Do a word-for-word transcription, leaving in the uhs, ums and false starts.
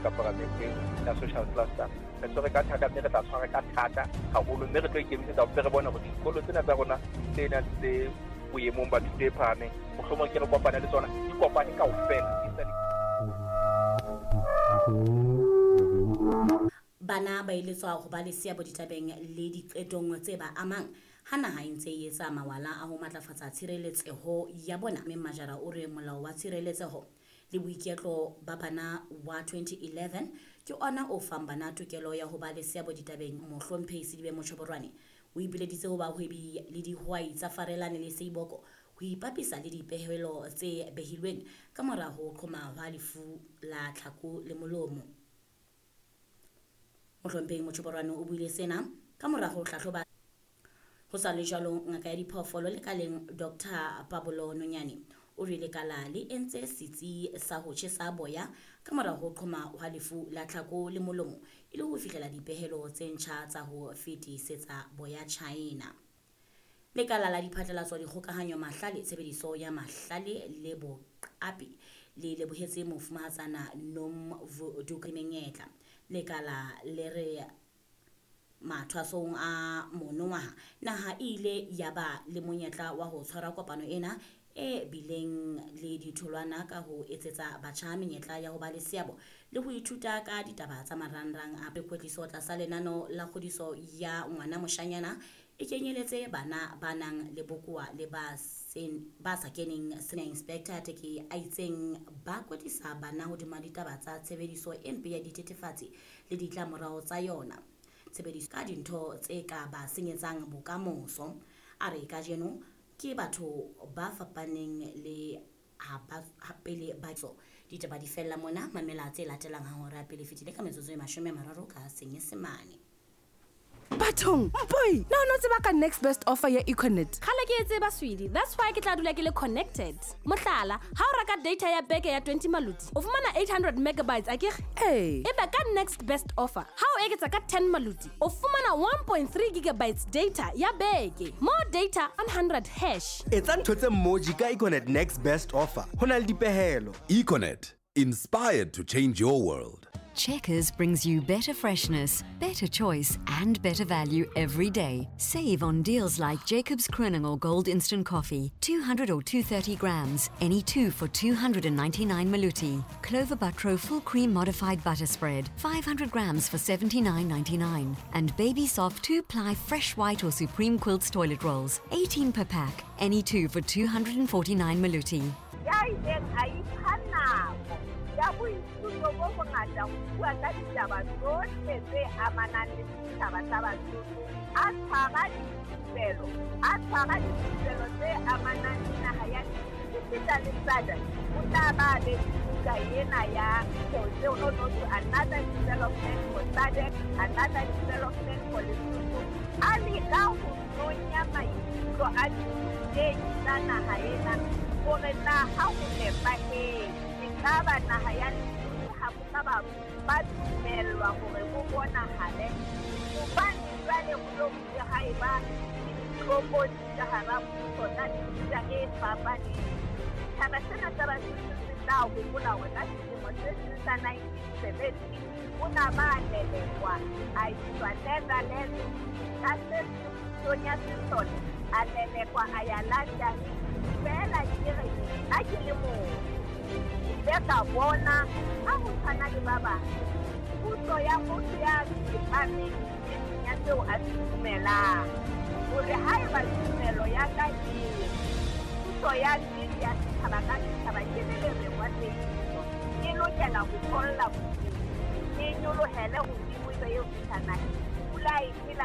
ka paramenteng ya social cluster. Re tshwere ka thata mme re tla tshwara ka thata haholo, mme re tlo ikemisetsa ho re bone hore dikolo tsena tsa rona tse nang tse boemong ba thuto e phahameng, mohlomong ke re kopane le tsona, di kopane kaofela. Bana ba eletswa ho ba le seabo ditabeng le diqetong tse ba amang ha naha e ntse e etsa mawala a ho matlafatsa tshireletseho ya bona. Mme Majara o re molao wa tshireletseho le boiketlo ba bana wa twenty eleven ke ona o fang bana tokelo ya ho ba le seabo ditabeng. Mohlomphehi Sedibe Motjhoborwane o ipileditse ho bahwebi le dihwai tsa Farelane le Seiboko ho ipapisa le dipehelo tse behilweng ka mora ho qhoma hwa lefu la tlhako le molomo. Mohlomphehi Motjhoborwane o buile sena ka mora ho hlahloba. Ho sa le jwalo, ngaka ya diphoofolo lekaleng Doctor Pablo Nonyane o re lekala le entse setsi sa ho tjhesa boya ka mora ho qhoma hwa lefu la tlhako le molomo e le ho fihlela dipehelo tse ntjha tsa ho fetisetsa boya China. Lekala la diphatlalatso, dikgokahanyo, mahlale, tshebediso ya mahlale le boqapi le lebohetse mofumahatsana Nomvuduka menyetla. Lekala le re mathwasong a monongwaha naha e ile ya ba le monyetla wa ho tshwara kopano ena e bileng le ditholwana ka ho etsetsa batjha menyetla ya ho ba le seabo le ho ithuta ka ditaba tsa marangrang a kwetliso tlasa lenano la kgodiso ya ngwana moshanyana e kenyeletse bana ba nang le bokowa le ba sen ba sa keneng. Senior Inspector Teke a itseng ba kwetlisa bana hodima ditaba tsa tshebediso e mpe ya dithethefatsi le ditlamorao tsa yona, tshebediso ka dintho tse ka ba senyetsang bokamoso. A re kajeno ke batho ba fapaneng le ha ba pele ba tso. Ditaba di fella mona, mamela tse latelang ha hora pele fetile ka metsotso e mashome a mararo ka Senyesemane. Bathong, mpoi, na o no tseba ka next best offer ya Econet? Kgale ke e tseba, sweetie. That's why ke tla dula ke le connected. Mohlala, ha o reka data ya beke ya twenty maluti, o fumana eight hundred megabytes akere? Ee. Ebe ka next best offer, ha o eketsa ka ten maluti, o fumana one point three gigabytes data ya beke. More data, one hundred hash. Etsa ntho tse mmoji ka Econet next best offer. Ho na le dipehelo. Econet, inspired to change your world. Checkers brings you better freshness, better choice, and better value every day. Save on deals like Jacobs Kroning Gold Instant Coffee, two hundred or two hundred thirty grams, any two for two hundred ninety-nine maluti. Clover Butro Full Cream Modified Butter Spread, five hundred grams for seventy-nine ninety-nine. And Baby Soft two-ply Fresh White or Supreme Quilts Toilet Rolls, eighteen per pack, any two for two hundred forty-nine maluti. Ya boithuto bo bongata ho bua ka ditaba tsohle tse amanang le setjhaba sa Basotho, a tshwara dithupelo, a tshwara dithupelo tse amanang le naha ya esita le SADC. O tla ba be buka ena ya no no to another development for SADC, another development for Lesotho. A leka ho nonya maikutlo a dithutehi tsa naha ena hore na ha ho nepahetse ekaba naha ya Lesotho ha bo ka ba ba dumellwa hore bo bonahale, hobane jwale ho lo bile ha eba le ditlokotsi ka hara puso tsa mefuta e fapaneng. Setjhaba sena sa Basotho se tla hopola hore ka selemo se seng sa nineteen seventy o na ba lelekwa a iswa Netherlands ka se seng pusong ya sesole, a lelekwa a ya London. Feela ke re nna ke le motho ke ile ka bona ha ho tshwana le ba bang puso ya motho ya tsepameng e seng ya seo a se dumelang, hore haeba tumelo ya ka e puso ya nnete ya setjhaba ka setjhaba ke le lereng wa tsebiso, e lokela ho tholla bodulo, e nyolohele hodimo ebe eo fihla naheng. Pula e phela